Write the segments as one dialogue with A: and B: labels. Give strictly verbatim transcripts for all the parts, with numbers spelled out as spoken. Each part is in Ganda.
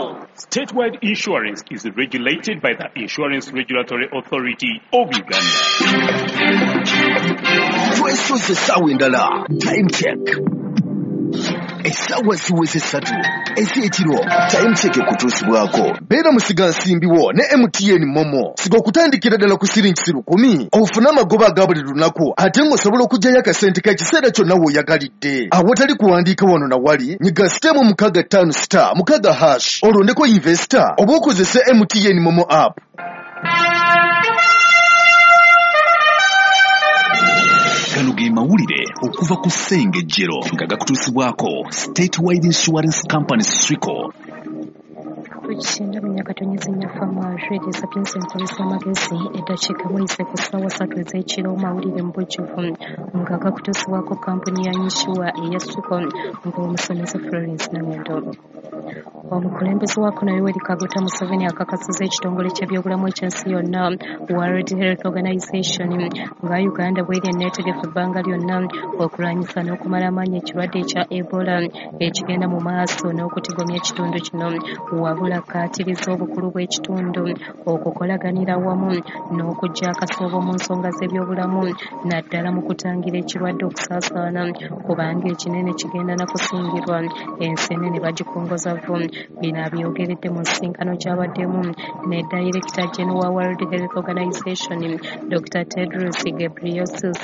A: Call.
B: Statewide Insurance is regulated by the Insurance Regulatory Authority of Uganda.
C: Twesoze essaawa endala. Time check. Essaawa ziweze ssatu ez'ekiro. Time check ekutuusibwako. Beera musigansimbiwo ne M T N Momo. Siga okutandikira ddala ku siringi lukumi ofune amagoba aga buli lunaku, ate ng'osobola okuggyayo akasente k'ekiseera kyonna w'oyagalidde. Awatali kuwandiika wano na wali, nyiga sitemu mukaaga ttaano star mukaaga hash olondeko investor oba okozese M T N Momo app.
A: Gano ge mawulire okuva ku Ssengejjero nga gakutuusibwako Statewide Insurance Company Swico.
D: Tukisinda munyakatonyeza nyafa sapiensi nkozesa amagezi eddakiika muyise ku ssaawa ssatu ez'ekiro. Mawulire mu bujjuvu nga gakutuusibwako kampuni ya Insure eya Swico ng'omusomesa Florence Nangendo. Omukulembeze wa kuno Yoweri Kaguta Museveni akakasizza ekitongole ky'ebyobulamu eky'ensi yonna World Health Organization nga Uganda bw'eri enneetegefu ebbanga lyonna okulwanyisa n'okumala amaanyi ekirwadde ekya Ebola ekigenda mu maaso n'okutigomya ekitundu kino. Wabula akkaatiriza obukulu bw'ekitundu okukolaganira wamu n'okuggya akasoobo mu nsonga z'ebyobulamu naddala mu kutangira ekirwadde okusaasaana, kubanga ekinene kigenda na kusingirwa ensenene bagikongoza vvu. Bino abyogeredde mu nsisinkano gy'abaddemu ne Director General wa World Health Organization Doctor Tedros Ghebreyesus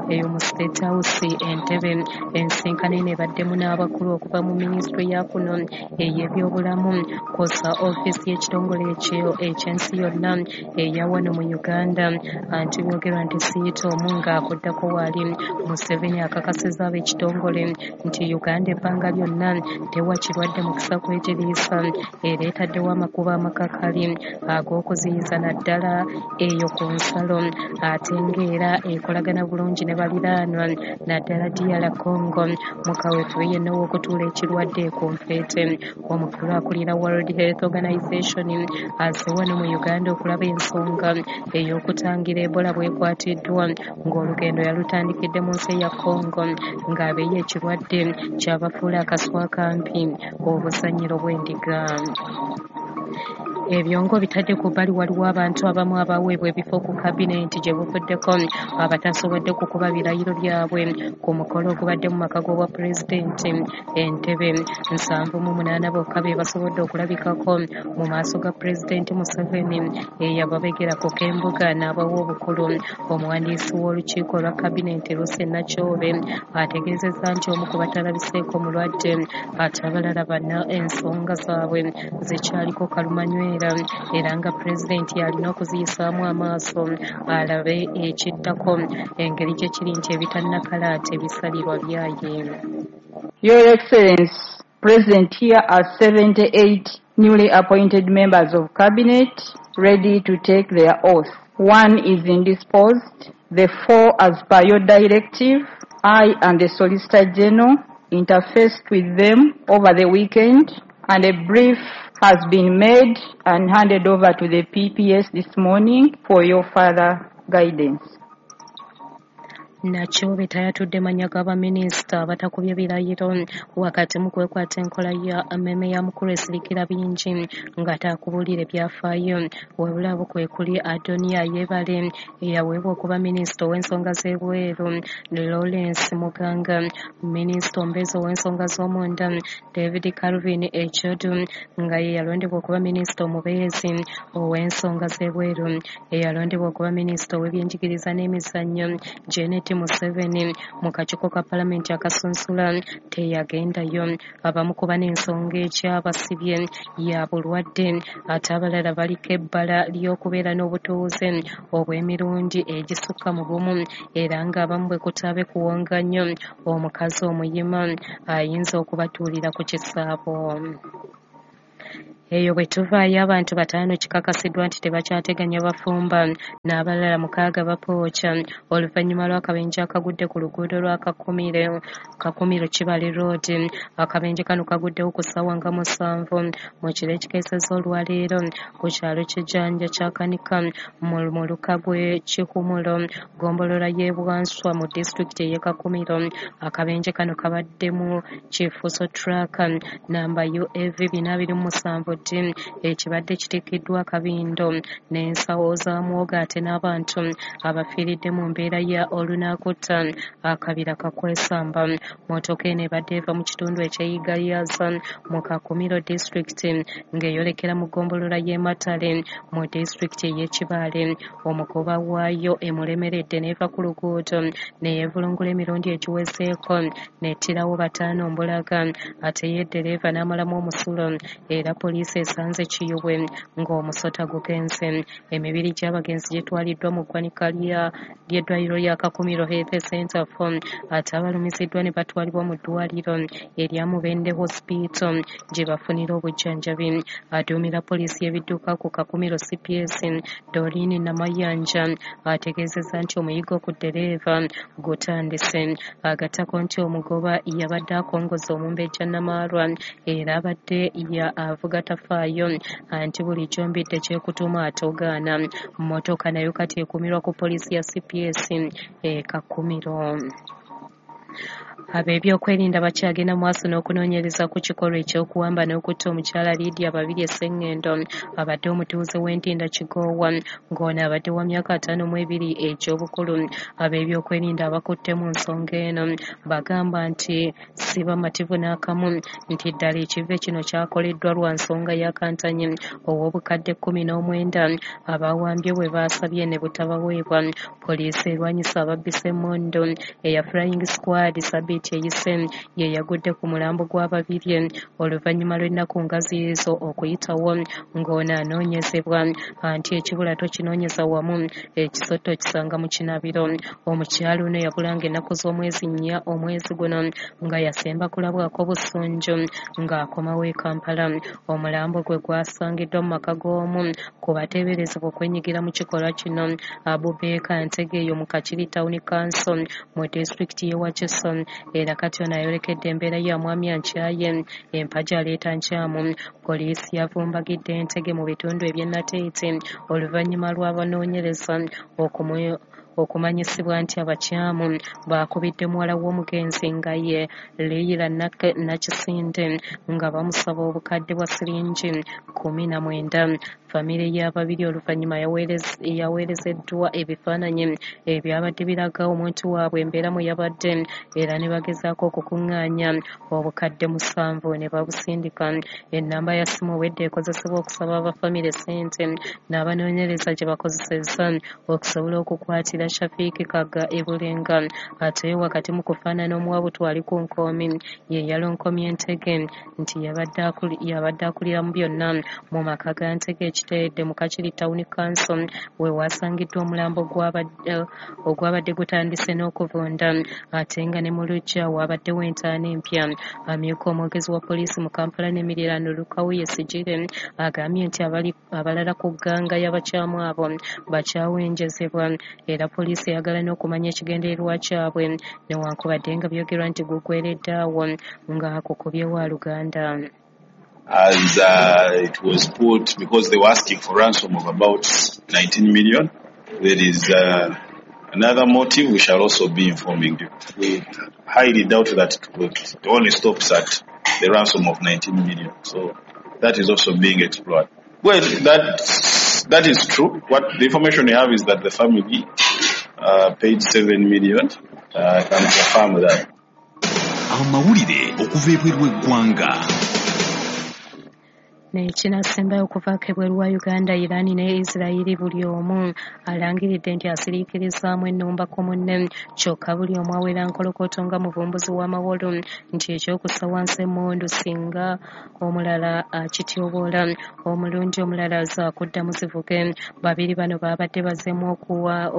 D: eyo mu State House Entebbe. Ensisinkano eno ebaddemu n'abakulu okuva mu minisitule ya kuno ey'ebyobulamu kw'ossa ofiisi y'ekitongole ekyo eky'ensi yonna eya wano mu Uganda. Anti byogerwa nti siyita omu ng'akuddako waali. Museveni akakasizza ab'ekitongole nti Uganda ebbanga lyonna tewa kirwadde mukisa kwegiriisa era etaddewo amakubo amakakali ag'okuziyiza naddala eyo ku nsalo, ate ng'era ekolagana bulungi ne baliraanwa naddala D R Congo mu kaweefube yenna ow'okutuula ekirwadde ku nfeete. Omukulu akulira World Health Organization azze wano mu Uganda okulaba ensonga ey'okutangira Ebola bw'ekwatiddwa, ng'olugendo yalutandikidde mu nsi ya Congo ng'abeeyo ekirwadde kyabafuula akaswa akampi obusanyiro bw'endiga. Ebyongo bitadde ku bbali, waliwo abantu abamu abaweebwa ebifo ku kabineeti gye buvuddeko abatasobodde kukuba birayiro byabwe ku mukolo ogubadde mu maka g'obwa pulezidenti Entebbe. Nsanvu mu munaana bokka be basobodde okulabikako mu maaso ga pulezidenti Museveni eyababegerako k'embuga n'abawa obukulu. Omuwandiisi w'olukiiko lwa kabineeti Lucy Nakyobe ategeezezza nti omu ku batalabiseeko mulwadde, ate abalala bana ensonga zaabwe zikyaliko kalumanywera, era nga pulezidenti alina okuziyisaamu amaaso alabe ekiddako engeri gye kiri nti ebitannakala tebisalirwa byaye.
E: Your Excellency, present here are seventy-eight newly appointed members of cabinet ready to take their oath. One is indisposed, the four as per your directive. I and the Solicitor General interfaced with them over the weekend, and a brief has been made and handed over to the P P S this morning for your further guidance.
D: Nakyobe tayatudde mannya g'abaminisita abatakubye birayiro wakati mu kwekwata enkola ya mmeme ya mukulu esirikira bingi nga takubuulira ebyafaayo. Wabula abo kwe kuli Adonia Yebale eyaweebwa okuba minisita ow'ensonga z'ebweru, Lawrence Muganga minisita omubeezi ow'ensonga z'omunda, David Calvin Echodu nga ye yalondebwa okuba minisita omubeezi ow'ensonga z'ebweru, eyalondebwa okuba minisita ow'ebyenjigiriza n'emizannyo Janet Museveni mu kakiiko ka palamenti akasunsula teyagendayo. Abamu kuba n'ensonga ekyabasibye ya bulwadde, ate abalala baliko ebbala ly'okubeera n'obutuuze obw'emirundi egisukka mu gumu, era ng'abamu bwe kutaabe kuwonga nnyo omukazi omuyima ayinza okubatuulira ku kisaabo. Eyo bwe tuvaayo abantu bataano kikakasiddwa nti tebakyateganya bafumba n'abalala mukaaga bapooca oluvannyuma lw'akabenje akagudde ku luguudo lwa Kakumiro, Kakumiro Kibale Road. Akabenje kano kaguddewo ku ssaawa nga musanvu mu kiro ekikeesezza olwaleero ku kyalo ky'Ejjanja Kyakanika mu muluka gw'e Kihumulo, ggombolola y'e Bwanswa mu disitulikiti ey'e Kakumiro. Akabenje kano kabaddemu Kifuso Truck namba U A V bina abiri mu musanvu D ekibadde kitikiddwa akabindo n'ensawo za muwogo ate n'abantu abafiiridde mu mbeera ya olunakutta akabira kakwesamba. Mmotoka eno ebadde eva mu kitundu eky'e Igayaza mu Kakumiro disitulikiti ng'eyolekera mu ggombolola y'e Matale mu disitulikiti ey'e Kibaale. Omugoba waayo emulemeredde n'eva ku luguudo ne yeevulungula emirundi egiwezeeko n'ettirawo bataano mbulaga ate ye ddereeva n'amalamu omusulo era poliisi esanze Kiyubwe ng'omusota gugenze. Emibiri gy'abagenzi gitwaliddwa mu ggwanika ly'eddwaliro lya Kakumiro Health Center four ate abalumiziddwa ne batwalibwa mu ddwaliro erya Mubende Hospital gye bafunira obujjanjabi. Aduumira poliisi y'ebidduka ku Kakumiro C P S Doreen Namayanja ategeezezza nti omuyiggo ku ddereeva gutandise. Agattako nti omugoba yabadde akongoza omumbejja Namaalwa era abadde ya avuga tafaayo anti bulijjo mbidde kyekutuma atogaana. Mmotoka nayo kati ekuumirwa ku poliisi ya C P S e Kakumiro. Ab'ebyokwerinda bakyagenda maaso n'okunoonyereza ku kikolwa eky'okuwamba n'okutta omukyala Lydia Babirye Ssengendo abadde omutuuze w'Entinda Kigoowa ng'ono abadde wa myaka ataano mu ebiri egy'obukulu. Ab'ebyokwerinda abakutte mu nsonga eno bagamba nti si bamativu n'akamu nti ddala ekive kino kyakoleddwa lwa nsonga ya Kantanyi ow'obukadde kkumi n'omwenda abawambye bwe baasabye ne butabaweebwa. Poliisi erwanyisa ababbisa emmundu eya Flying Squad Sabiiti eyise ye yagudde ku mulambo gw'Ababirye oluvannyuma lw'ennaku nga ziizo okuyitawo ng'ono anoonyezebwa anti ekibula tokinoonyeza wamu ekisotto kisanga mu kinabiro. Omukyala ono yabulanga ennaku z'omwezi nnya omwezi guno nga yasemba kulabwako busunju ng'akomawo e Kampala. Omulambo gwe gwasangiddwa mu maka g'omu ku bateeberezebwa okwenyigira mu kikolwa kino Abubaker Ntege eyo mu Kakiri Town Council mu disitulikiti y'e Wakiso. Era kati ono ayolekedde embeera ya mwami Ankyaye empagi aleeta nkyamu. Poliisi yavumbagidde Ntege mu bitundu eby'e Nateete oluvannyuma lw'abanoonyereza okumu okumanyisibwa nti abakyamu baakubidde muwala w'omugenzi nga ye Leila Nakisinde nga bamusaba obukadde bwa siringi kkumi na mwenda. Famire y'ababiri oluvannyuma yaweerezeddwa ebifaananyi ebyabadde biraga omuntu waabwe embeera mwe yabadde era ne bagezaako okukuŋŋaanya obukadde musanvu ne babusindika. Ennamba ya ssimu obwedda ekozesebwa okusaba abafamire ssente n'abanoonyereza gye bakozesezza okusobola okukwatira Shafiiki Kagga e Bulenga. Ate wakati mu kufaanana omuwabutu ali ku nkoomi ye yalonkomye Ntege nti yabadde akulira mu byonna mu maka ga Ntege ekiteredde mu Kakiri Town Council we wasangiddwa omulambo ogwabadde gutandise n'okuvunda ate nga ne mu luggya waabaddewo entaana empya. Amyuka omwogezi wa poliisi mu Kampala n'emiriraano Lukawuye Sigire agambye nti abalala ku gganga y'abakyamu abo bakyawenjezebwa era poliisi eyagala n'okumanya ekigendererwa kyabwe newankubadde nga byogerwa nti gugweredde awo ng'akukubye wa Luganda.
F: As uh, it was put, because they were asking for ransom of about nineteen million, there is uh, another motive we shall also be informing you. We highly doubt that it only stops at the ransom of nineteen million. So that is also being explored. Well, that, that is true. What the information we have is that the family uh, paid seven million. Uh, I can confirm that.
A: Amawulire okuva ebweru w'eggwanga.
D: N'ekinasembayo okuvaako ebweru wa Uganda, Iran ne Israel buli omu alangiridde nti asiriikirizaamu ennumba ku munne kyokka buli omu awera nkolokoto nga muvumbuzi w'amawolu nti ekyokussa wansi emmundu singa omulala akityoboola omulundi omulala zaakuddamu zivuge. Babiri bano baabadde bazzeemu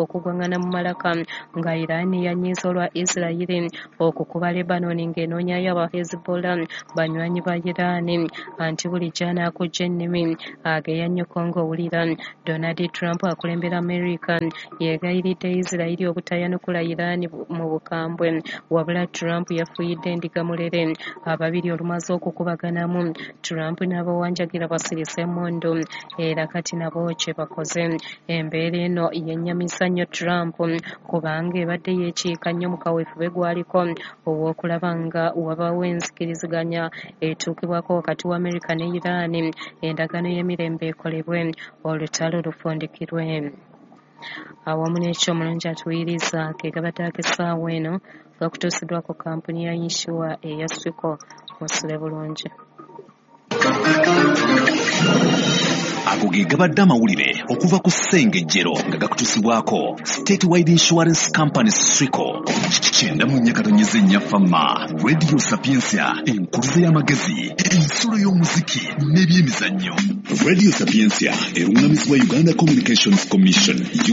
D: okugwaŋŋana mu malaka nga Iran yanyiiza olwa Israel okukuba Lebanon ng'enoonyayo aba Hezbollah banywanyi ba Iran anti bulijjo akujja ennimi ageya nnyo ng'owulira. Donald Trump akulembera America yeegayiridde Israel obutayanukula Iran mu bukambwe wabula Trump yafuuyidde endiga mulere. Ababiri olumaze okukubaganamu Trump n'abawanjagira basirise emmundu era kati nabo kye bakoze. Embeera eno yennyamisa nnyo Trump kubanga ebadde yeekiika nnyo mu kaweefube gwaliko ow'okulaba nga wabaawo enzikiriziganya etuukibwako wakati wa America ne Iran Sudan endagaano y'emirembe ekolebwe olutalo lufundikirwe. Awamu n'ekyo omulungi atuwuliriza ge gabadde ag'essaawa eno gakutuusiddwako kampuni ya yinsuwa eya Swico. Musule bulungi.
A: Ago ge gabadde amawulire okuva ku Ssengejjero nga gakutuusibwako Statewide Insurance Company Swico. Kyenda mu nnya katonyeze nnya Fama Radio Sapientia, enkuluze y'amagezi, ensulo y'omuziki n'ebyemizannyo. Radio Sapientia eruŋŋamizibwa Uganda Communications Commission.